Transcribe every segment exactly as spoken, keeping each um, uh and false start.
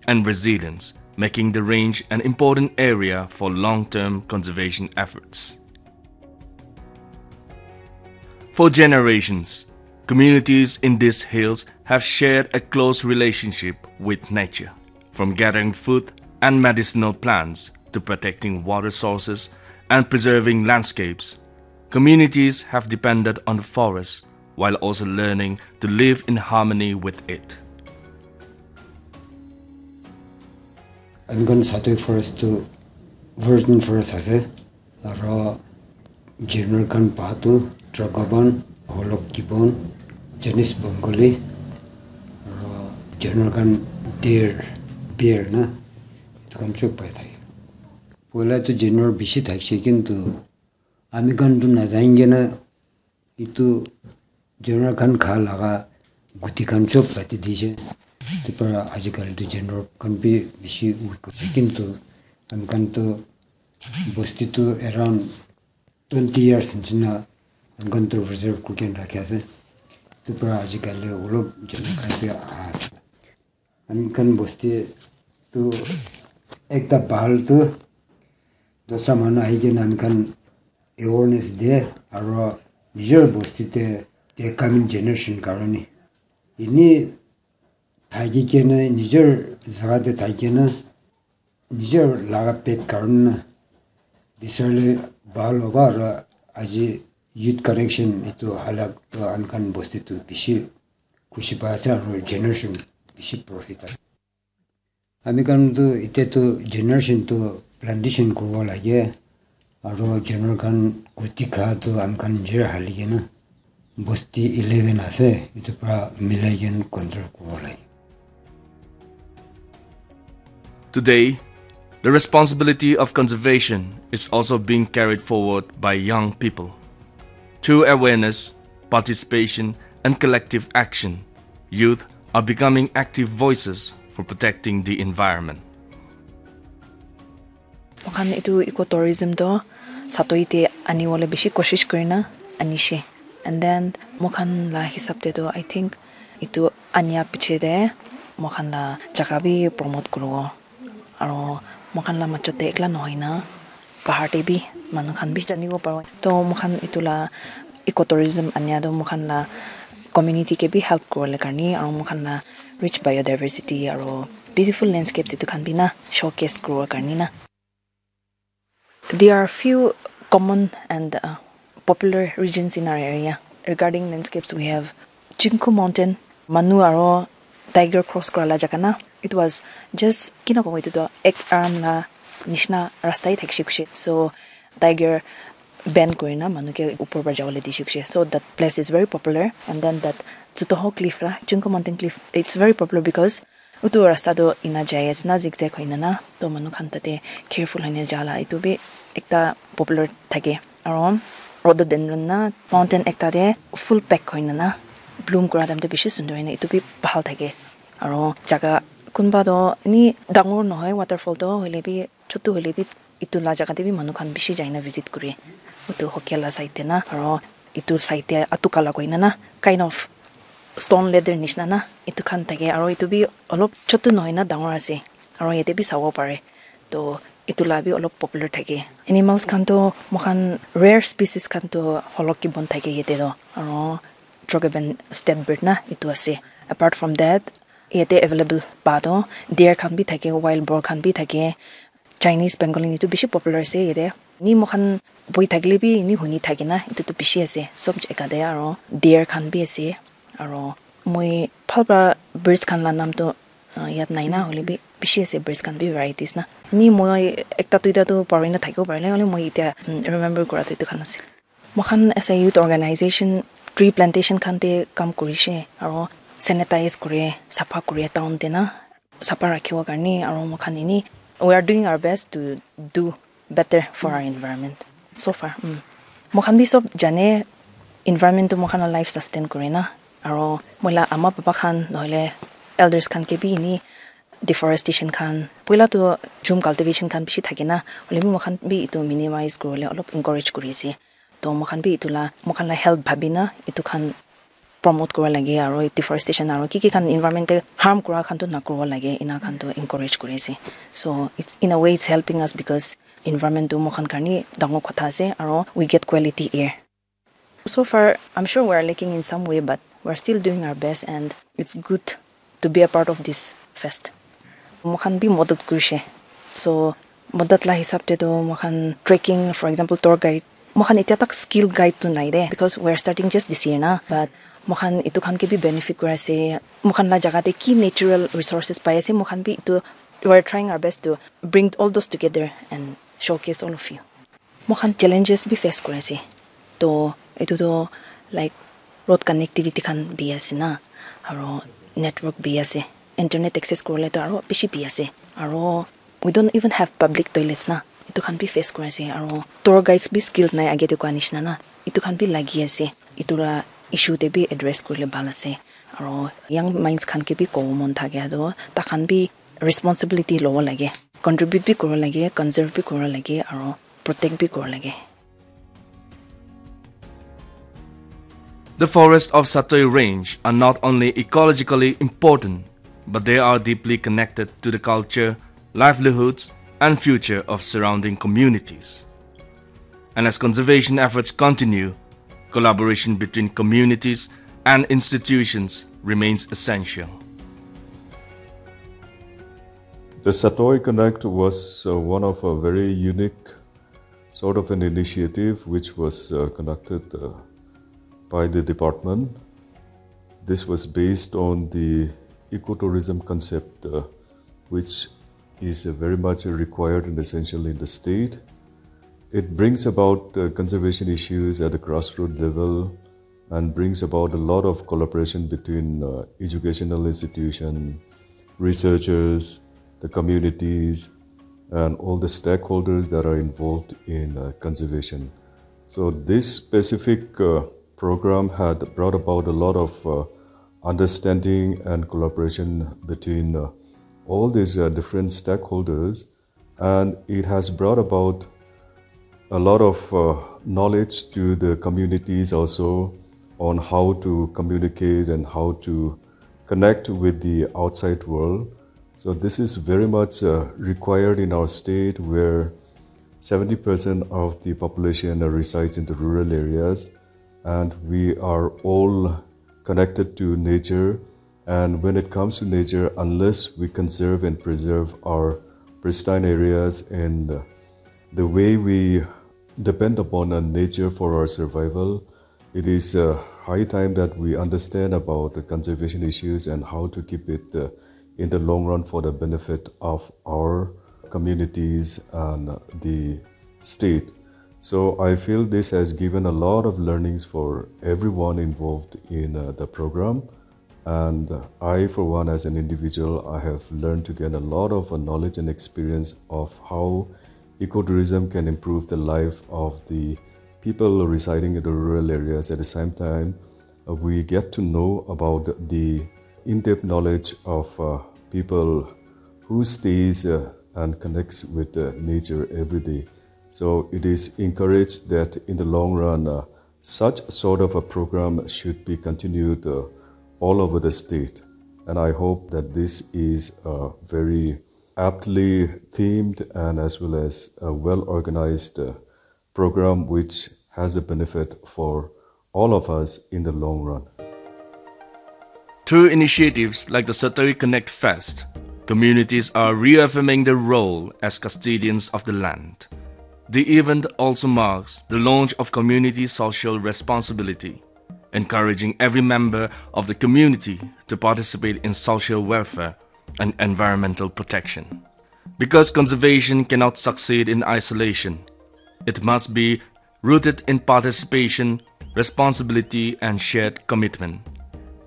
and resilience, making the range an important area for long-term conservation efforts. For generations, communities in these hills have shared a close relationship with nature, from gathering food and medicinal plants to protecting water sources and preserving landscapes. Communities have depended on the forest while also learning to live in harmony with it. Ami khan Satoi forest tu virgin forest ase, aro general khan pa tu Trogoban, Holok Gibbon, Janis Bengali, aro general khan deer, bear na, etu khan chop pai thake. Poila tu general bishi thakishe, kintu ami khan tu najai kena etu janwar khan kha laga guti khan chop kati dise. Etu para ajikali tu janwar khan bi bishi weak hoise, kintu ami khan tu bosti tu around twenty years nishina ami khan tu reserve kuri kena rakhi ase. Etu para ajikali olop janwar khan bi aha ase. Ami khan bosti tu ekta bhal tu dosra manu ahi kena ami khan awareness de, aro nijor bosti te, te coming generation karone ini thaki kena nijor jaga te thaki kena nijor laga pet karone na bisarle bhal hoba. Aro aji youth connection etu halak tu ami khan bosti tu bishi khushi pa ase aro generation bishi profit ase. Ami khan tu ite tu generation tu plantation kuribo lage aro general khan guti kha tu ami khan nijor hali kena bosti eleven ase, etu para milai kena control kuribo lage. Today, the responsibility of conservation is also being carried forward by young people. Through awareness, participation, and collective action, youth are becoming active voices for protecting the environment. Moikhan etu ecotourism toh Satoi te anibole bishi koshish kurina anishe. And then moikhan la hisab te toh, I think, etu ania piche te moikhan la jaga bi promote kuribo. Aro moikhan la majot te ekla nohoi na, bahar te bi manu khan bi janibo paribo. Toh moikhan etu la ecotourism ania toh moikhan la community ke bi help kuribole karne, aro moikhan la rich biodiversity aro beautiful landscapes etu khan bi na showcase kuribo karne na. There are few common and uh, popular regions in our area. Regarding landscapes, we have Chinku Mountain, manu aro tiger cross kura la jaga na. It was just, kina kobo, etu toh ek arm la nishina rasta hi thakishe kushe. So tiger bend kurina manu ke upor para jabole dishe kushe. So that place is very popular. And then that Tsutoho Cliff la, Chinku Mountain Cliff, it's very popular because utu rasta toh ena jai ase na, zigzag hoina na, toh manu khan tate careful hoina jala etu bi ekta popular thake. Aro rhododendron na mountain ekta te full pack hoina na bloom kura time te bishi sundor hoina etu bi bhal thake. Aro jaga kunba toh eni dangor nohoi waterfall toh, hoile bi chutu hoile bi etu la jaga te bi manu khan bishi jaina visit kure. Utu Hokia la side te na, aro etu side te Atukala koina na, kind of stone ladder nishina na, etu khan thake, aro etu bi olop chutu nohoi na dangor ase, aro yate bi sabo pare. Toh etu la bi olop popular thake. Animals khan toh moikhan rare species khan toh Holok Gibbon thake yate toh, aro Trogoban state bird na etu ase. Apart from that, yate available pa toh deer khan bi thake, wild boar khan bi thake, Chinese pangolin etu bishi popular ase yate. Ni moikhan boi thakile bi ni huni thake na, etu tu bishi ase sob jaga te, aro deer khan bi ase. Aro moi bhal para birds khan la naam tu, ah, yad nai na, hoile bi bishi ase birds khan bi varieties na. Ni moi ekta duita tu parina thakibo parile, hoile moi etia, mm, remember kura tu etu khan ase. Moikhan as a youth organization tree plantation khan te kam kurishe, aro sanitize kure, sapha kure town te na, sapha rakhibo karne, aro moikhan eni, we are doing our best to do better for our environment so far. Mm. Moikhan bi sob jane, environment tu moikhan la life sustain kure na, aro moi la ama papa khan nohole elders khan ke bi eni deforestation khan, poila tu jhum cultivation khan bishi thake na, hoile bi moikhan bi etu minimize kuribole olop encourage kuri ase. Toh moikhan bi etu la, moikhan la health bhabi na etu khan promote kura lage, aro deforestation aro ki ki khan environment te harm kura khan tu na kura lage, ina khan tu encourage kuri ase. So it's, in a way, it's helping us because environment tu moikhan karni dangor kotha ase, aro we get quality air. So far, I'm sure we're lacking in some way, but we're still doing our best, and it's good to be a part of this fest. Moikhan bi madad kurishe. So madad la hisab te tu moikhan trekking, for example, tour guide, moikhan etia tak skill guide tu nai de, because we're starting just this year na, but moikhan itu khan ke bi benefit kura ase. Moikhan la jaga te ki natural resources pai ase, moikhan bi itu, we're trying our best to bring all those together and showcase all of you. Moikhan challenges bi face kuri ase. To etu to, like, road connectivity khan bi ase na, aro network bi ase, internet access kuribole to aro bishi bi ase, aro we don't even have public toilets na, etu khan bi face kuri ase, aro tour guides bi skilled nai, age te koa nishina na, etu khan bi lagi ase, etu la issue te bi address kurile bhal ase, aro young minds khan ke bi kobo mon thake to takhan bi responsibility lobo lage, contribute bi kuro lage, conserve bi kuro lage, aro protect bi kuro lage. The forests of Satoi Range are not only ecologically important, but they are deeply connected to the culture, livelihoods, and future of surrounding communities. And as conservation efforts continue, collaboration between communities and institutions remains essential. The Satoi Connect was uh, one of a very unique sort of an initiative which was uh, conducted uh, by the department. This was based on the ecotourism concept, uh, which is uh, very much required and essential in the state. It brings about uh, conservation issues at the grassroots level and brings about a lot of collaboration between uh, educational institutions, researchers, the communities, and all the stakeholders that are involved in uh, conservation. So, this specific uh, program had brought about a lot of uh, understanding and collaboration between uh, all these uh, different stakeholders, and it has brought about a lot of uh, knowledge to the communities also on how to communicate and how to connect with the outside world. So, this is very much uh, required in our state where seventy percent of the population uh, resides in the rural areas, and we are all connected to nature. And when it comes to nature, unless we conserve and preserve our pristine areas and uh, the way we depend upon uh, nature for our survival, it is uh, high time that we understand about the conservation issues and how to keep it uh, in the long run for the benefit of our communities and the state. So I feel this has given a lot of learnings for everyone involved in uh, the program. And I, for one, as an individual, I have learned to gain a lot of uh, knowledge and experience of how ecotourism can improve the life of the people residing in the rural areas. At the same time, uh, we get to know about the in-depth knowledge of uh, people who stays uh, and connects with uh, nature every day. So it is encouraged that in the long run, uh, such sort of a program should be continued uh, all over the state. And I hope that this is a very aptly themed and as well as a well organized uh, program which has a benefit for all of us in the long run. Through initiatives like the Satoi Connect Fest, communities are reaffirming their role as custodians of the land. The event also marks the launch of community social responsibility, encouraging every member of the community to participate in social welfare and environmental protection. Because conservation cannot succeed in isolation, it must be rooted in participation, responsibility, and shared commitment.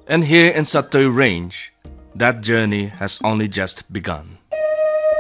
And here in Satoi Range, that journey has only just begun.